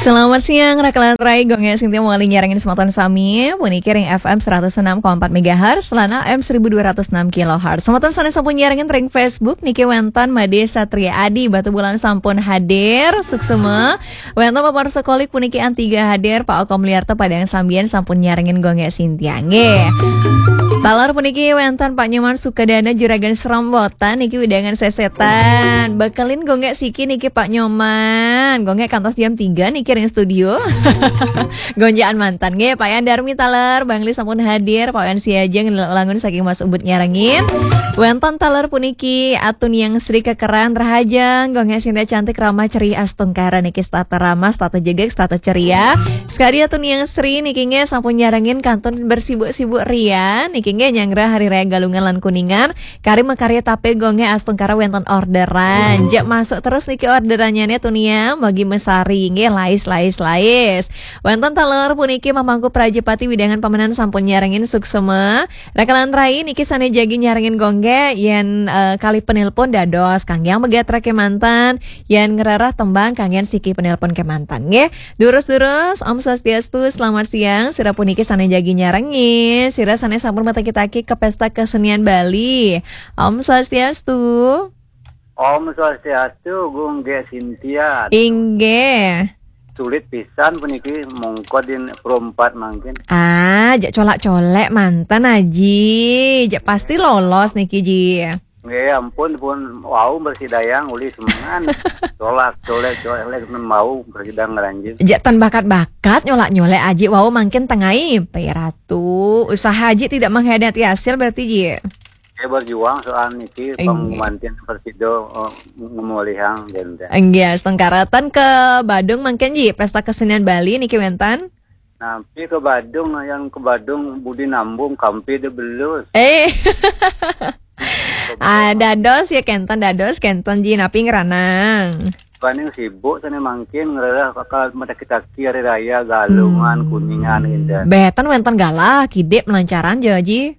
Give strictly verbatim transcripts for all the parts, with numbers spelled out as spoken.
Selamat siang, Raka lan Rai, Gung Gé Sintia malih nyarengin semeton sami, puniki ring F M seratus enam koma empat megahertz, lan A M seribu dua ratus enam kilohertz. Semeton sané sampun nyarengin ring Facebook, niki wénten Madé Satria Adi, Batubulan sampun hadir, suksma. Wénten Bapak Sekolik puniki Antiga hadir, Pak Oko Mulyarta Padang Sambian sampun nyarengin Gung Gé Sintia, nggih. Taler puniki wénten Pak Nyoman Sukadana Juragan Serombotan niki wewidangan sesetan. Bekelin Gung Gé siki niki Pak Nyoman. Gung Gé kantos jam tiga niki ring studio. Gonjakan manten nggih, Pak Yan Darmi taler, Bangli sampun hadir, Pak Yan Siaja ngelangun saking Mas Ubud nyarengin. Wénten taler puniki Atun Yang Sri Kekeran Rahajeng, Gung Gé Sintia cantik ramah ceria astungkara niki setata ramah, setata jegeg, setata ceria. Sekadi Atun Yang Sri niki nggih sampun nyarengin kantun bersibuk-sibuk ria, niki nggih nyanggra Hari Raya Galungan lan Kuningan, kari makarya tapé Gung Gé astungkara wénten orderan. Jek masuk terus niki orderannya nih Tunia, mugi mesari nggih lais lais lais. Wénten taler puniki Mamangku Prajapati wewidangan pamenan sampun nyarengin suksma. Raka lan Rai niki sané jagi nyarengin Gung Gé yén eh, kalih penelpon dados kanggé megatra kémanten, yén ngrereh tembang kanggé siki penelpon kémanten nggih. Durus-durus, Om Swastiastu, selamat siang. Sira puniki sané jagi nyarengin, sira sané sampun mataki-taki ke Pesta Kesenian Bali. Om Swastiastu. Om Swastiastu, Gung Gé Sintia. Inggih. Sulit pisan puniki mongko din perempat mangkin. Ah, jak colak-colek manten Aji. Jak pasti lolos niki Ji. Nggih, ampun pun wau bersidayang uli semengan. Colak-colek colek wau bersidang ngranjing. Jak tan bakat-bakat nyolak-nyolek Aji wau mangkin tengai Pai Ratu. Usaha Aji tidak mengkhianati hasil berarti Ji. Saya berjuang soal niki. Inggih. Pangmanten prasida eh, ngemolihang genten. Inggih, astungkara tan ke Badung mangkin Ji, Pesta Kesenian Bali niki wénten. Napi ke Badung, yang ke Badung budi nambung kampi de belus. Eh. Ah, dados ya kenten dados kenten Ji napi ngranang. Paling sibuk sané mangkin ngrereh bakal mataki-taki hari raya Galungan, hmm, Kuningan genten. Béh, tan wénten galah kidik melancaran ja Ji.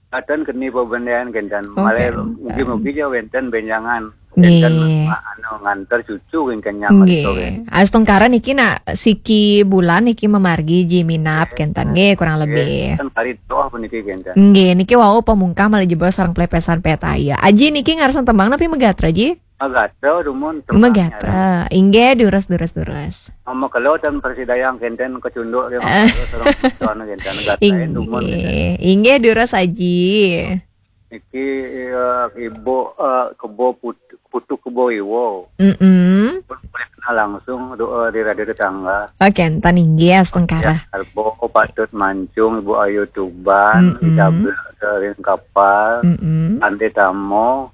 Katon keni pabendéan genten. Oh, malih kenten. Mugi-mugi ja wénten bénjangan. Nggih. Wénten ma- anu nganter cucu genten nyang. Nggih. Menika, genten. Astungkara niki nak siki bulan niki mamargi Ji minab kenten nggih kurang lebih. Kan kari doh puniki genten. Nggih, niki wau pamungkah malih jebos sareng pelepesan peta ya. Aji niki ngarsan tembang napi megatra Ji? Megatra dumun tembang. Megatra. Inggih, durus, durus, durus. Mama kelo dan persidayang kenten kecunduk dia. Eh. Mama kelo sareng kecunduk genten. Megatra dumun genten. Inggih, inggih durus Aji. Niki eh, ibu eh, kebo put- putu kebo iwo. Mm-mm. Pun boleh kenal langsung doa di radio tetangga. Oke, enten inggih astungkara. Ya, Arbo patut mancung Ibu Ayu Tuban, mm-mm, Isabel Kering Kapal, mm-mm, Ande Tamo,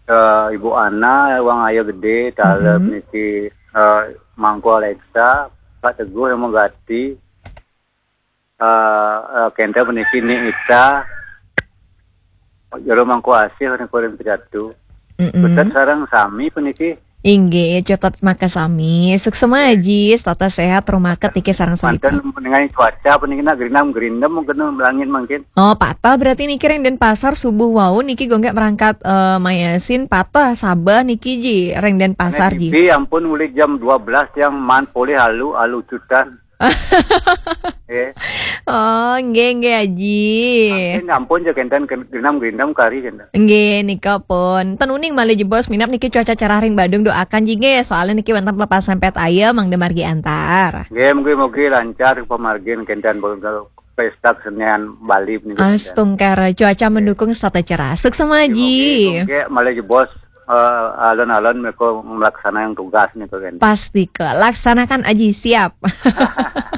eh, Ibu Ana, Wang Ayu Gede, Taleb, mm-mm, niki eh, Mangku Alexa, Pak Teguh yang mengganti, eh, eh, kenten puniki Ni Ita, Jero Mangku Asih niku ring Pejatu. Mm-mm. Betet sareng sami puniki. Inggih, cutet makasami. Suksma Aji, setata sehat, rumaket niki sareng sugih. Manten dengan cuaca puniki nak gerindam-gerindam mungkin langit mungkin. Oh, patah berarti niki ring Denpasar subuh wau niki Gung Gé merangkat eh, mayasin patah sabeh niki Ji ring Denpasar Ji. Ampun uli jam dua belas yang man polih alu alu cutan. Eh. Oh, nggih nggih Aji. Mungkin ampun ja kenten ken- genam-genam kari kenten. Nggih, nika pun. Ten uning malih jebos minab niki cuaca cerah ring Badung doakan Ji nggih. Soalnya niki wénten pelepasan pet ayam mangda margi antar. Nggih, mugi-mugi lancar pamargin kenten pesta kesenian Bali punika. Astungkara cuaca mendukung setata cerah. Suksma Ji. Nggih, malih jebos eh, alon-alon mereka melaksanakan tugas nih kan. Pasti ke laksanakan Aji siap.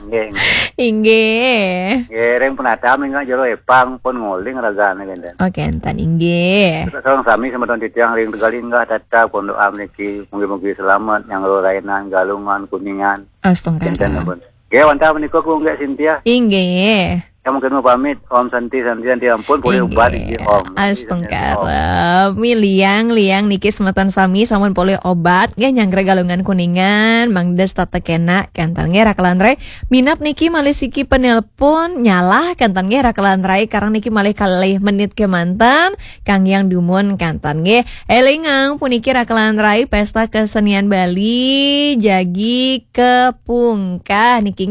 Nggih, nggih. Inggih. Nggih, ring penata minggu jero epang pun nguling ragane kenten. Oke, enten inggih. Kita sareng sami semeton titiang ring Tegalinggah tetap pun doa mriki mugi-mugi selamat yang rainan Galungan Kuningan. Astungkara. Kenten pun. Nggih, wantah menika Gung Gé Sintia. Inggih. Kamu kena pamit, Om Santi, Santi, Santi, ampun, boleh ubah iki, Om. Astungkara. Miliang, liang niki semeton sami sampun polih obat nggih, nyanggra Galungan Kuningan, mangda setata kenak kanten nggih, rakelan rai. Minab niki malih siki penelpon nyalah kanten nggih, rakelan rai. Karang niki malih kalih menit kemanten kang yang dumun kanten nggih. Elingang puniki, rakelan rai, Pesta Kesenian Bali jagi kepungkah niki.